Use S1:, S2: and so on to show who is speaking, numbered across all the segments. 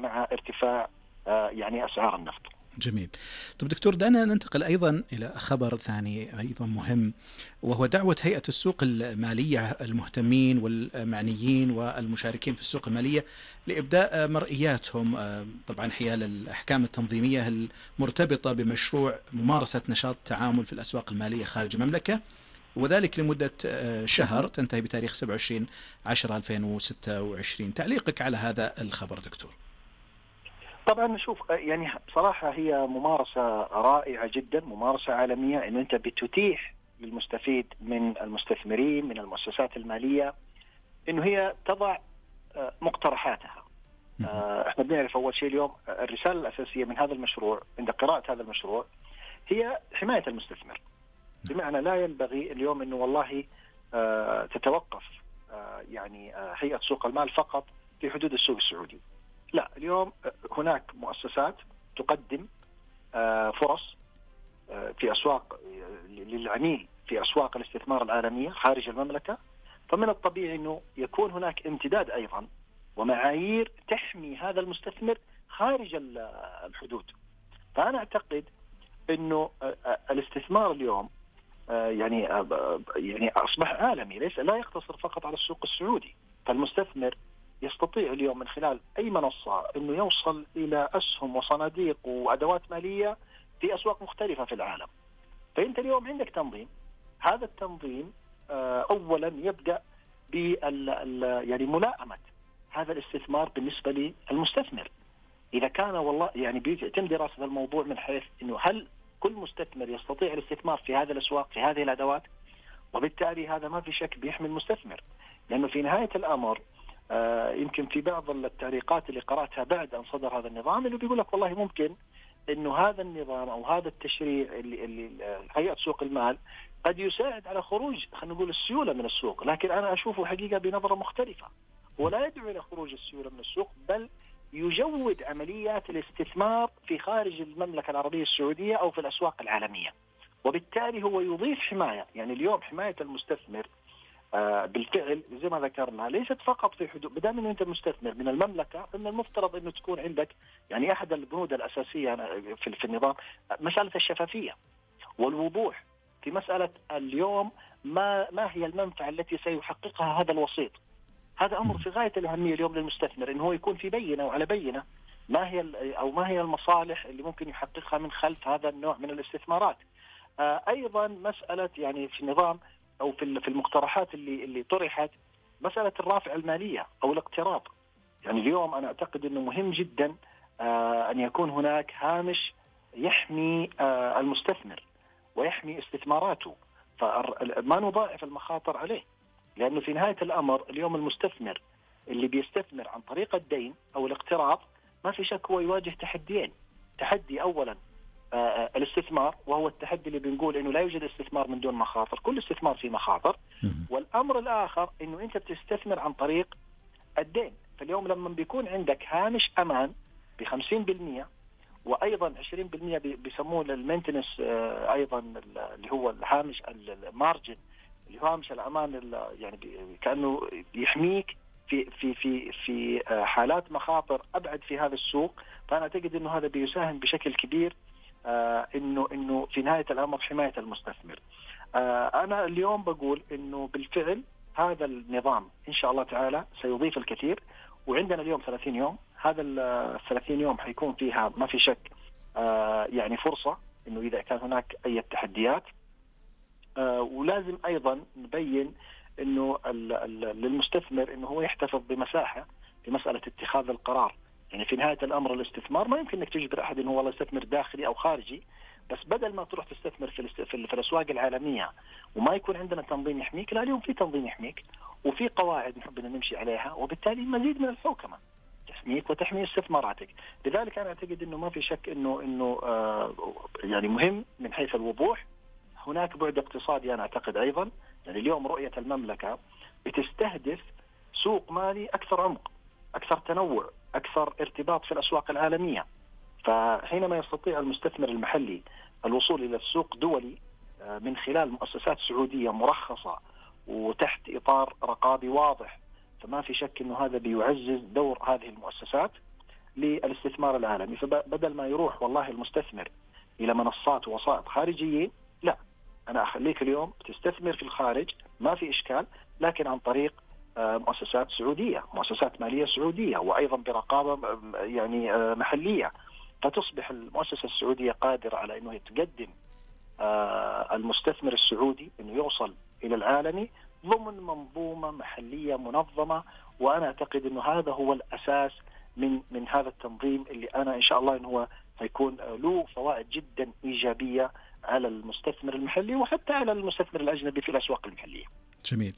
S1: مع ارتفاع يعني أسعار النفط.
S2: جميل. طب دكتور، دعنا ننتقل أيضا إلى خبر ثاني أيضا مهم، وهو دعوة هيئة السوق المالية المهتمين والمعنيين والمشاركين في السوق المالية لإبداء مرئياتهم طبعا حيال الأحكام التنظيمية المرتبطة بمشروع ممارسة نشاط التعامل في الأسواق المالية خارج المملكة، وذلك لمدة شهر تنتهي بتاريخ 27/10/2026. تعليقك على هذا الخبر دكتور؟
S1: طبعا نشوف يعني بصراحة هي ممارسة رائعة جدا، ممارسة عالمية، إنه أنت بتتيح للمستفيد من المستثمرين من المؤسسات المالية إنه هي تضع مقترحاتها. احنا بنعرف أول شيء اليوم الرسالة الأساسية من هذا المشروع عند قراءة هذا المشروع هي حماية المستثمر، بمعنى لا ينبغي اليوم إنه والله تتوقف يعني هيئة سوق المال فقط في حدود السوق السعودي. لا، اليوم هناك مؤسسات تقدم فرص في أسواق للعميل في أسواق الاستثمار العالمية خارج المملكة، فمن الطبيعي أنه يكون هناك امتداد أيضا ومعايير تحمي هذا المستثمر خارج الحدود. فأنا أعتقد أنه الاستثمار اليوم يعني أصبح عالمي، لا يقتصر فقط على السوق السعودي. فالمستثمر يستطيع اليوم من خلال أي منصة أنه يوصل إلى أسهم وصناديق وأدوات مالية في أسواق مختلفة في العالم. فأنت اليوم عندك تنظيم، هذا التنظيم أولا يبدأ يعني ملائمة هذا الاستثمار بالنسبة للمستثمر. إذا كان والله يعني بيتم دراسة الموضوع من حيث أنه هل كل مستثمر يستطيع الاستثمار في هذه الأسواق في هذه الأدوات، وبالتالي هذا ما في شك بيحمي المستثمر. لأنه في نهاية الأمر يمكن في بعض التعليقات اللي قرأتها بعد أن صدر هذا النظام اللي بيقول لك والله ممكن إنه هذا النظام أو هذا التشريع اللي هيئة سوق المال قد يساعد على خروج خلينا نقول السيولة من السوق، لكن أنا أشوفه حقيقة بنظرة مختلفة، ولا يدعو إلى خروج السيولة من السوق، بل يجود عمليات الاستثمار في خارج المملكة العربية السعودية أو في الأسواق العالمية، وبالتالي هو يضيف حماية. يعني اليوم حماية المستثمر بالفعل زي ما ذكرنا ليست فقط في حدود، بدل من أنت مستثمر من المملكة فمن المفترض أنه تكون عندك يعني أحد البنود الأساسية في النظام مسألة الشفافية والوضوح في مسألة اليوم ما هي المنفعة التي سيحققها هذا الوسيط. هذا أمر في غاية الأهمية اليوم للمستثمر، إنه هو يكون في بينة وعلى بينة ما هي المصالح اللي ممكن يحققها من خلف هذا النوع من الاستثمارات. أيضا مسألة يعني في النظام أو في المقترحات اللي طرحت مسألة الرافع المالية أو الاقتراض. يعني اليوم أنا أعتقد أنه مهم جدا أن يكون هناك هامش يحمي المستثمر ويحمي استثماراته، فما نضاعف المخاطر عليه. لأنه في نهاية الأمر اليوم المستثمر اللي بيستثمر عن طريق الدين أو الاقتراض ما في شك هو يواجه تحديين. تحدي أولا الاستثمار، وهو التحدي اللي بنقول إنه لا يوجد استثمار من دون مخاطر، كل استثمار فيه مخاطر. والأمر الآخر إنه أنت بتستثمر عن طريق الدين. فاليوم لما بيكون عندك هامش أمان ب50%، وأيضا 20% بيسموه المينتنس، أيضا اللي هو الهامش المارجن اللي هو هامش الأمان، يعني كأنه يحميك في حالات مخاطر أبعد في هذا السوق. فأنا أعتقد إنه هذا بيساهم بشكل كبير إنه في نهاية الأمر حماية المستثمر. أنا اليوم بقول إنه بالفعل هذا النظام إن شاء الله تعالى سيضيف الكثير، وعندنا اليوم 30 يوم. هذا 30 يوم حيكون فيها ما في شك يعني فرصة إنه إذا كان هناك أي تحديات، ولازم أيضا نبين إنه للمستثمر إنه هو يحتفظ بمساحة في مسألة اتخاذ القرار. يعني في نهاية الأمر الاستثمار ما يمكن إنك تجبر أحد إنه والله يستثمر داخلي أو خارجي، بس بدل ما تروح تستثمر في الأسواق العالمية وما يكون عندنا تنظيم يحميك، لا اليوم في تنظيم يحميك وفي قواعد نحب أن نمشي عليها، وبالتالي مزيد من الحوكمة تحميك وتحمي استثماراتك. لذلك أنا أعتقد إنه ما في شك إنه يعني مهم من حيث الوضوح. هناك بعد اقتصادي أنا أعتقد أيضا، يعني اليوم رؤية المملكة بتستهدف سوق مالي أكثر عمق، أكثر تنوع، أكثر ارتباط في الأسواق العالمية. فحينما يستطيع المستثمر المحلي الوصول إلى السوق دولي من خلال مؤسسات سعودية مرخصة وتحت إطار رقابي واضح، فما في شك أنه هذا بيعزز دور هذه المؤسسات للاستثمار العالمي. فبدل ما يروح والله المستثمر إلى منصات ووسائط خارجيين، لا، أنا أخليك اليوم تستثمر في الخارج ما في إشكال، لكن عن طريق مؤسسات سعودية، مؤسسات مالية سعودية، وأيضا برقابة يعني محلية. فتصبح المؤسسة السعودية قادرة على أنه تقدم المستثمر السعودي أنه يوصل إلى العالمي ضمن منظومة محلية منظمة. وأنا أعتقد أنه هذا هو الأساس من هذا التنظيم، اللي أنا إن شاء الله أنه هو سيكون له فوائد جدا إيجابية على المستثمر المحلي وحتى على المستثمر الأجنبي في الأسواق المحلية.
S2: جميل.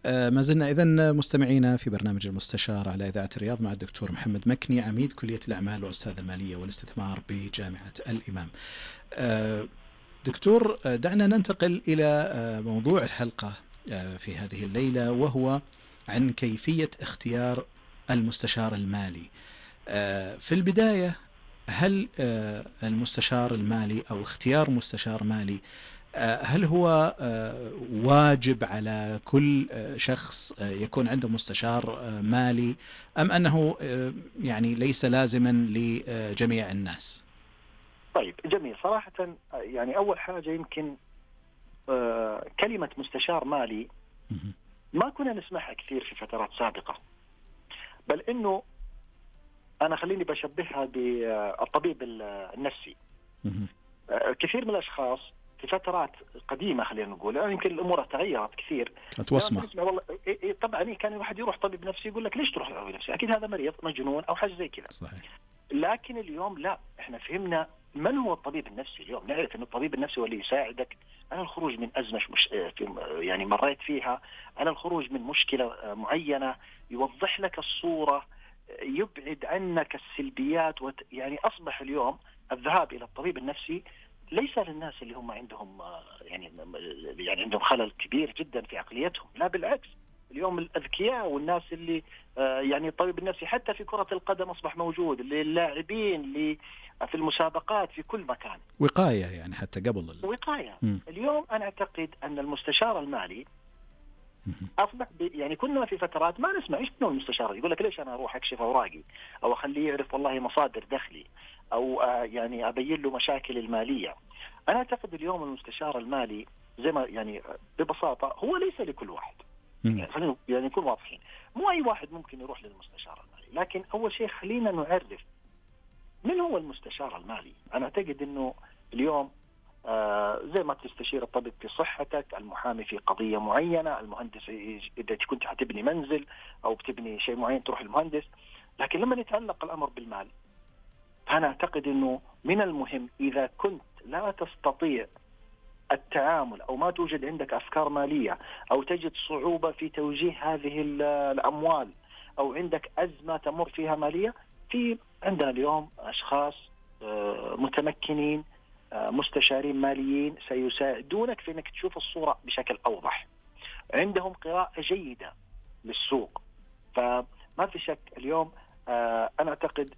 S2: ما زلنا إذن مستمعينا في برنامج المستشار على إذاعة الرياض مع الدكتور محمد مكني، عميد كلية الأعمال وأستاذ المالية والاستثمار بجامعة الإمام. دكتور، دعنا ننتقل إلى موضوع الحلقة في هذه الليلة، وهو عن كيفية اختيار المستشار المالي. في البداية، هل المستشار المالي أو اختيار مستشار مالي هل هو واجب على كل شخص يكون عنده مستشار مالي، أم أنه يعني ليس لازما لجميع الناس؟
S1: طيب، جميل. صراحة يعني أول حاجة يمكن كلمة مستشار مالي ما كنا نسمعها كثير في فترات سابقة، بل إنه أنا خليني بشبهها بالطبيب النفسي. كثير من الأشخاص في فترات قديمة خلينا نقول، يعني يمكن الأمور تغيرت كثير.
S2: أتوسمة.
S1: والله طبعا كان الواحد يروح طبيب نفسي يقول لك ليش تروح طبيب نفسي؟ أكيد هذا مريض مجنون أو حاجة زي كذا.
S2: صحيح.
S1: لكن اليوم لا، إحنا فهمنا من هو الطبيب النفسي. اليوم نعرف أن الطبيب النفسي هو اللي يساعدك على الخروج من أزمة يعني مريت فيها، على الخروج من مشكلة معينة، يوضح لك الصورة، يبعد عنك السلبيات. يعني أصبح اليوم الذهاب إلى الطبيب النفسي ليس للناس اللي هم عندهم يعني عندهم خلل كبير جدا في عقليتهم، لا بالعكس. اليوم الأذكياء والناس اللي يعني الطبيب النفسي حتى في كرة القدم أصبح موجود، للاعبين اللي في المسابقات في كل مكان.
S2: وقاية يعني حتى قبل
S1: وقاية. اليوم أنا أعتقد أن المستشار المالي أصبح يعني كنا في فترات ما نسمع إيش إنه المستشار يقول لك ليش أنا أروح أكشف أوراقي أو أخليه يعرف والله مصادر دخلي أو يعني أبين له مشاكل المالية. أنا أعتقد اليوم المستشار المالي زي ما يعني ببساطة هو ليس لكل واحد. يعني خلينا يعني نكون واضحين، مو أي واحد ممكن يروح للمستشار المالي. لكن أول شيء خلينا نعرف من هو المستشار المالي. أنا أعتقد إنه اليوم زي ما تستشير الطبيب في صحتك، المحامي في قضية معينة، المهندس إذا كنت حتبني منزل أو بتبني شيء معين تروح للمهندس. لكن لما يتعلق الأمر بالمال، فأنا أعتقد أنه من المهم إذا كنت لا تستطيع التعامل أو ما توجد عندك أفكار مالية أو تجد صعوبة في توجيه هذه الأموال أو عندك أزمة تمر فيها مالية، في عندنا اليوم أشخاص متمكنين، مستشارين ماليين سيساعدونك في أنك تشوف الصورة بشكل أوضح، عندهم قراءة جيدة للسوق. فما في شك اليوم أنا أعتقد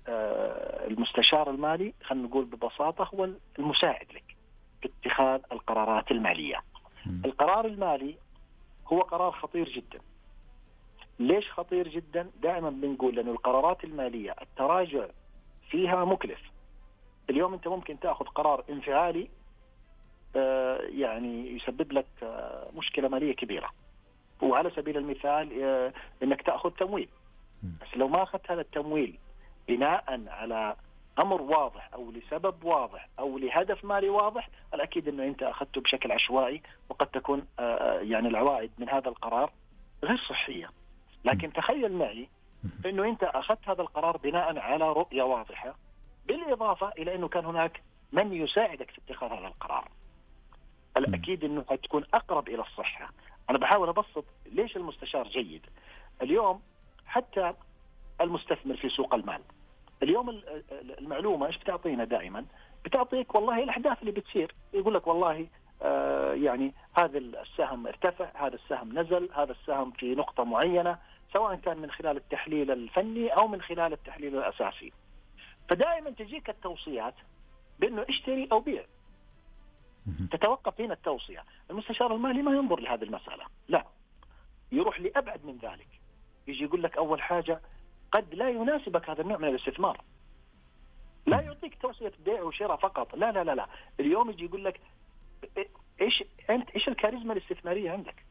S1: المستشار المالي خلينا نقول ببساطة هو المساعد لك في اتخاذ القرارات المالية. القرار المالي هو قرار خطير جدا. ليش خطير جدا؟ دائما بنقول لأن القرارات المالية التراجع فيها مكلف. اليوم أنت ممكن تأخذ قرار انفعالي يعني يسبب لك مشكلة مالية كبيرة، وعلى سبيل المثال أنك تأخذ تمويل، بس لو ما أخذت هذا التمويل بناء على أمر واضح أو لسبب واضح أو لهدف مالي واضح، الأكيد أنه أنت أخذته بشكل عشوائي، وقد تكون يعني العوائد من هذا القرار غير صحية. لكن تخيل معي أنه أنت أخذت هذا القرار بناء على رؤية واضحة، بالإضافة إلى أنه كان هناك من يساعدك في اتخاذ هذا القرار، الأكيد أنه حتكون أقرب إلى الصحة. أنا بحاول أبسط ليش المستشار جيد. اليوم حتى المستثمر في سوق المال، اليوم المعلومة إيش بتعطينا دائما؟ بتعطيك والله الأحداث اللي بتصير، يقول لك والله يعني هذا السهم ارتفع، هذا السهم نزل، هذا السهم في نقطة معينة، سواء كان من خلال التحليل الفني أو من خلال التحليل الأساسي. فدائما تجيك التوصيات بأنه اشتري أو بيع، تتوقف هنا التوصية. المستشار المالي ما ينظر لهذه المسألة، لا، يروح لأبعد من ذلك. يجي يقول لك أول حاجة قد لا يناسبك هذا النوع من الاستثمار، لا يعطيك توصية بيع وشراء فقط، لا لا لا لا، اليوم يجي يقول لك ايش الكاريزما الاستثمارية عندك؟